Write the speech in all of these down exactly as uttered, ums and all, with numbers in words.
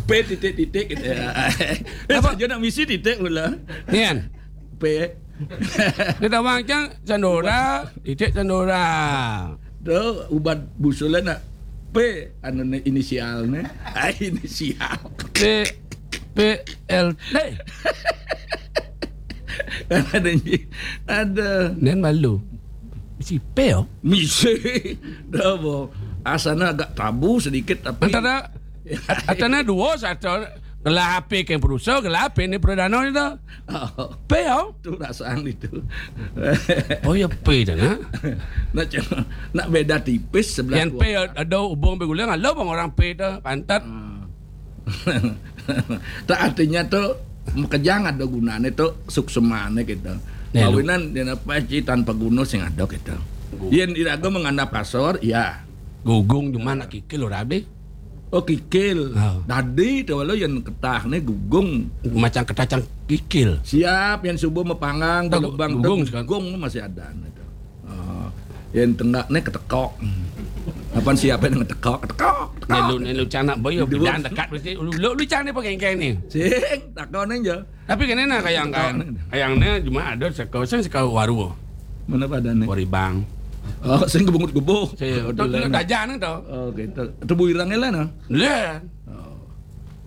P titik-titik gitu ya. Eh, apa? Saja nak misi titik pula. Nian. P. Dia tawang cang Sandora, titik Sandora. Tu ubat busulan nak P anu ni inisial ni. Ah, inisial. P P L T. Ada ni. Ada. Nian malu. Misi P oh. Misi. Dah bo. Asana agak tabu sedikit tapi antara antara dua satu gelah P ke perusaha, gelah P ni perdana ni tu. Oh. P oh. Tu rasaan itu. Oh ya P dah nak. Nak cuma nak beda tipis sebelah. Yang P ada hubung bergula ngalo bang orang P tu pantat. Hmm. Tak artinya tu makejang ada gunane tu suksemane kita. Kawinan dia apa ci tanpa guna sing ada kita. Yen iraga mengandap kasar, ya. Gugung cuma nak kikil ora deh. Oh kikil. Ha. Dadi tu walau yen ketah ne gugung. Macam ketah cang kikil. Siap yen subuh mepanggang gugung, gugung masih ada ne tu. Oh, yen tenggak ne ketekok. Kapan siap ne ngetekok, ketekok, ketekok. Nelu nelu cang nak boyo bidan dekat mesti lu lu cang ne pengengkeng ni. Sing takon aja. Tapi kene nah kayang kayang kayang ne cuma ada seko sing seko waru. Mana pada ne? Waribang. Oh, sing gebungut gebuh. Sing tu tu dajan tu. Oh, gitu. Tebu irang lah nah. Lah. Oh.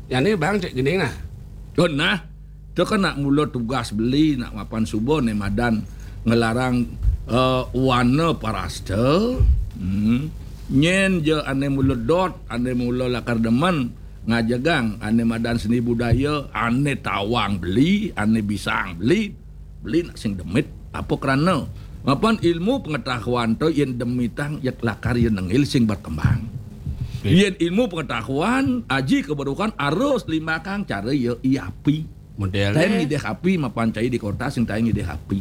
Yang ni bang cek gini nah. Oh, nah. Tu kan nak mula tugas beli nak mapan subuh ne madan ngelarang uh, wana parasta. Hmm. Nyen je ane mula dot, ane mula lakar demen ngajegang ane madan seni budaya, ane tawang beli, ane bisang beli, beli nak sing demit. Apa kerana? Mapan ilmu pengetahuan tu yen demitang yak lakar yen nengil sing berkembang. Yen ilmu pengetahuan aji keberukan arus limbakang cara ya iapi. Model tai ngidih api mapan cai di kota sing tai ngidih api.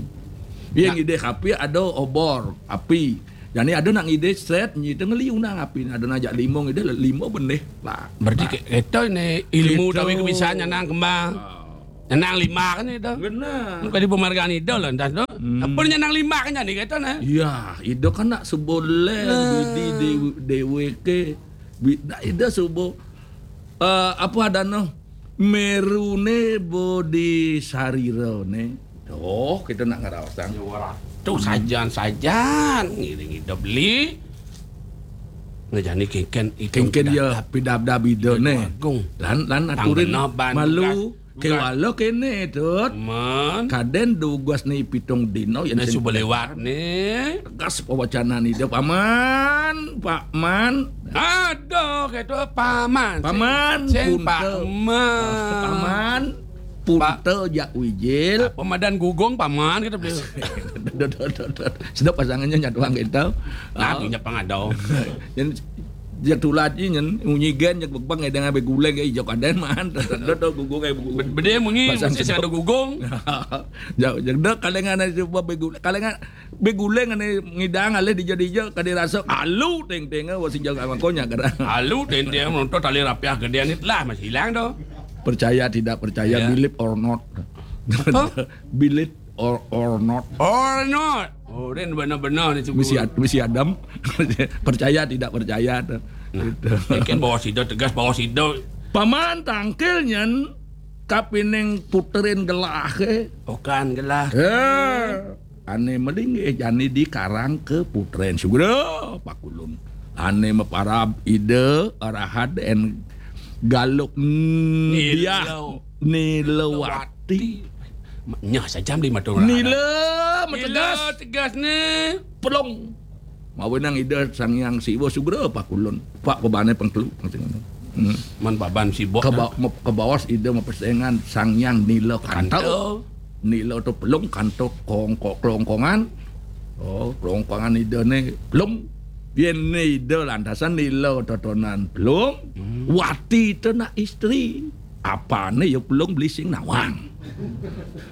Yen ngidih api ada obor api. Jadi ada nak ngidih set nyi tengah liu nang api ada nak jak lima ngidih lima benih lah. Berarti kita ni ilmu tawi ke bisa nyanang kembang. Nyanang lima kan itu. Benar. Bukan di pemargaan itu lah entah tu. Hmm. Apa nyanang lima kan jadi kita nah. Ya, itu kan nak seboleh bidi dewe ke. Nak itu subuh uh, apa ada noh merune bodi sarira ne. Oh, kita nak ngerawasan. Tu sajan-sajan ngiring ida beli. Ngejani kengken itu kengken ya pidabdab ida ne. Lan lan aturin malu. Kewala kene tut. Man. Kaden dugas ni pitung dino yang suba lewat ni. Tegas pawacana ni dia paman, Pak Man. Aduh, kata paman. Paman, punta. Paman. Punta jak wijil. Pemadan gugung paman kita beli. Sedap pasangannya nyatuang kita. Nah, punya pangadau. Jadi Jatulat ji nyen munyi gen jek bebang ai dengan beguleng ai jok aden man. Tendo to gugung ai gugung. Bede munyi mesti sing ada gugung. Jok jek dek kalengan ai suba beguleng. Kalengan beguleng ane ngidang alih dija-dija kade rasa alu teng-teng wa sing jaga makonya kada. Alu teng-teng nonton tali rapiah gede ni telah masih hilang tu. Percaya tidak percaya, believe or not. Apa? Believe or or not. Or not. Oh, dia benar-benar ni misi, misi Adam. Percaya tidak percaya tu. Nah, gitu. Mungkin bawa sida tegas bawa sida. Paman tangkil nyen kapining puterin gelah ke. Okan gelah. Eh, ane melinggih jani dikarang ke puterin sugra pakulun. Ane meparab ida arahat en galuk diah nilawati. Nyah sajam di matung. Nila metegas. Nila tegas ni. Pelung. Mawenang ida Sang Hyang Siwa sugra pakulun. Pak pebane pengkelu. Hmm. Man baban sibuk. Ke bawas ida mapesengan Sang Hyang nila kanto. Nila tu pelung kanto kongkok kelongkongan. Oh, kelongkongan ida ni pelung. Yen ni ida lantasan nila totonan pelung. Hmm. Wati tu nak isteri. Apane ya pelung beli sing nawang.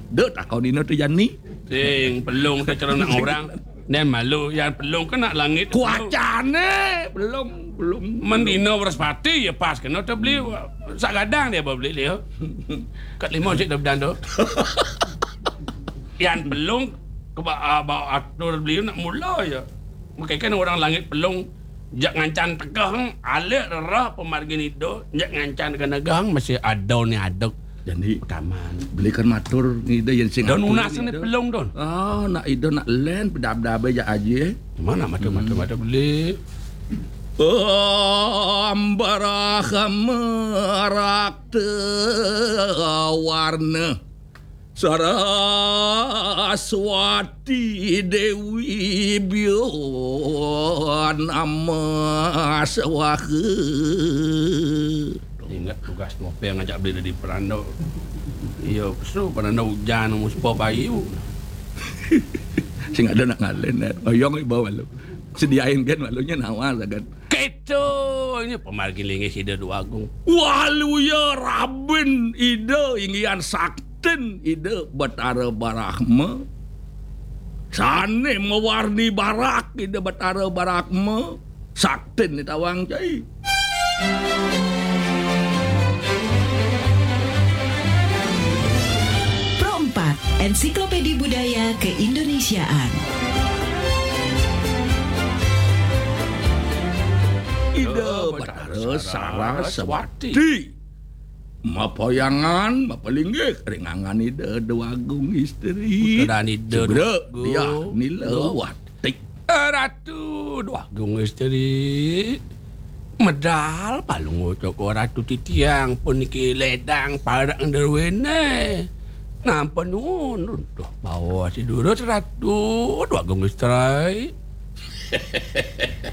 Dek takon ina tu jani. Sing pelung tu cara nak orang. Nen malu yang pelung ke nak langit. Kuacane pelung pelung. Mendino Wrespati ya pas kena tu beli sak gadang dia beli dia. Kat lima cik dah bedan tu. Yang pelung ke ba, ba atur beli nak mula ya. Mungkin kan orang langit pelung Jak ngancan tegeh, alik rereh pamargin Ida, jak ngancan kena geng, masih ada ni adeg. Jadi, kaman. Beli kan matur ngida yang sing Don atur unas ni ngida. Pelung, Don. Ah, nak Ida nak len, pedab-dab aja aja. Mana mata, mata, mata beli? Ambarah merak te warna. Saraswati Dewi Bion Ama Swaha. Ingat tugas nopo yang ngajak beli dari Peranda. Iya, pesu Peranda hujan, muspa payu. Sing ada nak ngalen, eh. Oyong iba malu. Sediain kan malunya nawa sagan. Keto, ini pamargin linggih Ida Dwagung. Waluya rabin Ida inggihan saktin Ida Batara Barahma. Sane mawarni barak Ida Batara Barahma. Saktin ni tawang cai. Pro empat, Ensiklopedia Budaya Keindonesiaan. Ida Batara Saraswati. Mapayangan, mapalinggih, ringangan Ida Dwagung Isteri. Puteran Ida Segera Dwagung. Dia nila Dwagung. Wati. Ratu Dwagung Isteri. Medal palung ucok Ratu titiang puniki ledang parak nderwene. Nampa nuwun runtuh bawa si durus Ratu Dwagung Isteri.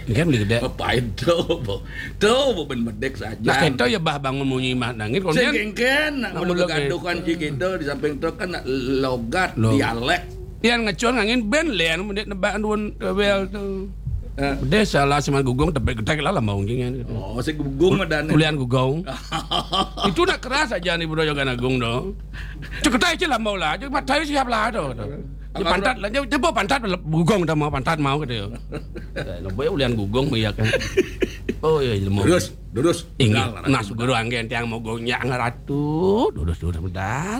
Kan beli gede. Apain tuh, Bu? Tuh, Bu, ben medek saja. Nah, kento ya bah bangun munyi mah nangin. Sing kengken, nak mulu kegaduhan si kita di samping truk kan nak logat, dialek. Pian ngecon ngangin ben lian mendek nebak nuwun kewel tuh. Eh. Bedeh salah sama gugung tebek gedek lah lambau ngingin gitu. Oh, si gugung ada nih. Ulian gugung. Itu nak keras aja nih Bro Yogan Agung dong. Ceketai aja lambau lah, aja matai siap lah tuh. Pantat lah, dia pantat gugung udah mau pantat mau gitu. Lembek ulian gugung ya kan. Oh iya ilmu. Terus Durus. Inggih, nah, Guru anggen tiang mogo nyak ngeratu, durus-durus medal.